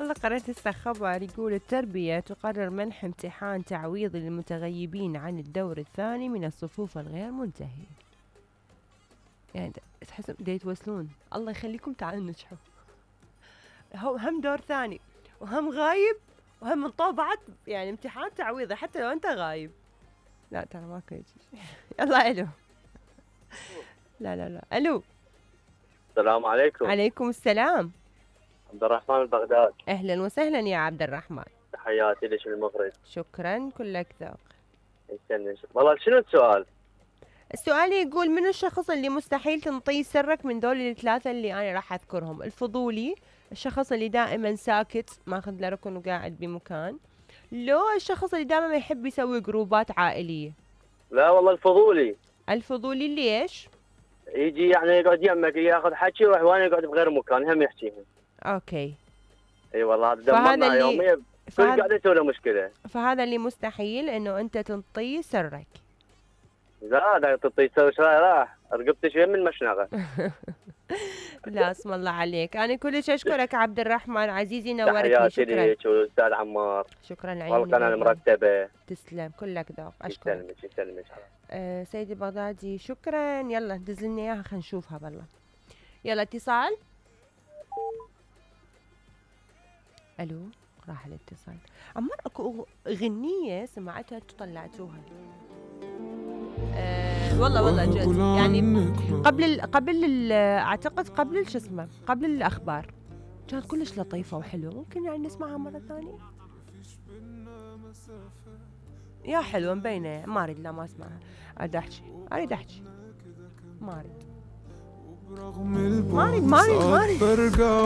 والله قرأت هسه خبر يقول التربية تقرر منح امتحان تعويضي للمتغيبين عن الدور الثاني من الصفوف الغير منتهية. يعني تحس دا يتوسلون، الله يخليكم تعالوا نجحوا. هو هم دور ثاني وهم غايب وهم من بعد يعني امتحان تعويضي حتى لو انت غايب. لا ترى ماكو شيء. يلا الو. لا الو. السلام عليكم. عليكم السلام. عبد الرحمن البغداد. اهلا وسهلا يا عبد الرحمن. تحياتي لك المخرج. شكرا كلك ذوق. يسلمك. والله شنو السؤال؟ السؤال يقول من الشخص اللي مستحيل تنطيه سرك من دول الثلاثة اللي انا راح اذكرهم؟ الفضولي، الشخص اللي دائما ساكت ماخذ له ركن وقاعد بمكان، لو الشخص اللي دائما ما يحب يسوي جروبات عائلية؟ لا والله الفضولي. الفضولي ليش؟ يجي يعني يقعد يمك ياخذ حكي ويروح وانا يقعد بغير مكان هم يحكيهم. اوكي. اي والله هذا دمرنا يوميا كل قاعد يسوي له مشكله. فهذا اللي مستحيل انه انت تنطيه سرك. لا لا تعطيه سر راح رقبتي شوي من المشنقه. لا اسم الله عليك، انا كلش اشكرك عبد الرحمن عزيزي، نورتني. تحياتي لك والاستاذ عمار. شكرا لعيوني. والقناه المرتبه. تسلم كلك ذوق. اشكرك. يسلمك. سيدي بغدادي شكرا. يلا دز لنا اياها خلينا نشوفها بالله. يلا اتصال. الو. راح الاتصال. عمار اكو غنية سمعتها طلعتوها. والله جد يعني قبل اعتقد قبل شو اسمه قبل الاخبار كانت كلش لطيفة وحلوة، ممكن يعني نسمعها مرة ثانية. يا حلوة مبينة. ما اريد، لا ما اسمعها. اريد احكي. ما اريد.